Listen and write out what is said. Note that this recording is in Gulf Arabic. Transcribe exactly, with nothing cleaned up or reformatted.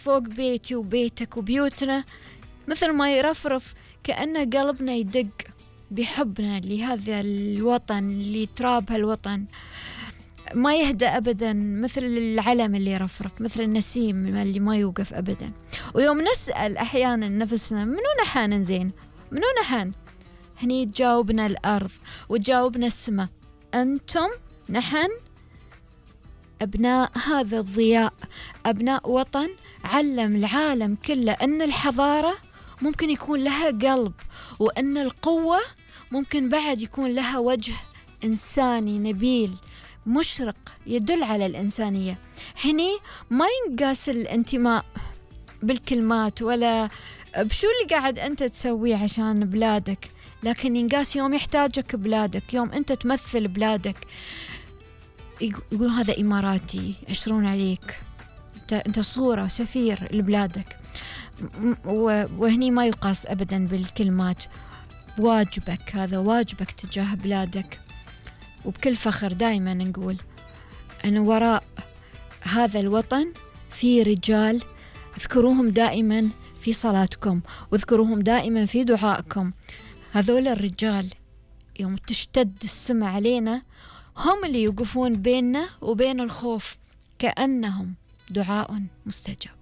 فوق بيتي وبيتك وبيوتنا، مثل ما يرفرف كأنه قلبنا يدق بحبنا لهذا الوطن لتراب هالوطن، ما يهدأ أبدا، مثل العلم اللي يرفرف، مثل النسيم اللي ما يوقف أبدا. ويوم نسأل أحيانا نفسنا منو نحن زين، منو نحن، هني تجاوبنا الأرض وتجاوبنا السماء، أنتم نحن أبناء هذا الضياء، أبناء وطن علم العالم كله أن الحضارة ممكن يكون لها قلب، وأن القوة ممكن بعد يكون لها وجه إنساني نبيل مشرق يدل على الإنسانية. هني ما ينقاس الانتماء بالكلمات ولا بشو اللي قاعد أنت تسويه عشان بلادك، لكن ينقاس يوم يحتاجك بلادك، يوم أنت تمثل بلادك يقول هذا إماراتي، يشرون عليك، أنت, انت صورة سفير لبلادك. وهني ما يقاس أبدا بالكلمات، واجبك، هذا واجبك تجاه بلادك. وبكل فخر دائما نقول أن وراء هذا الوطن في رجال، اذكروهم دائما في صلاتكم واذكروهم دائما في دعائكم. هذول الرجال يوم تشتد السماء علينا هم اللي يوقفون بيننا وبين الخوف، كأنهم دعاء مستجاب.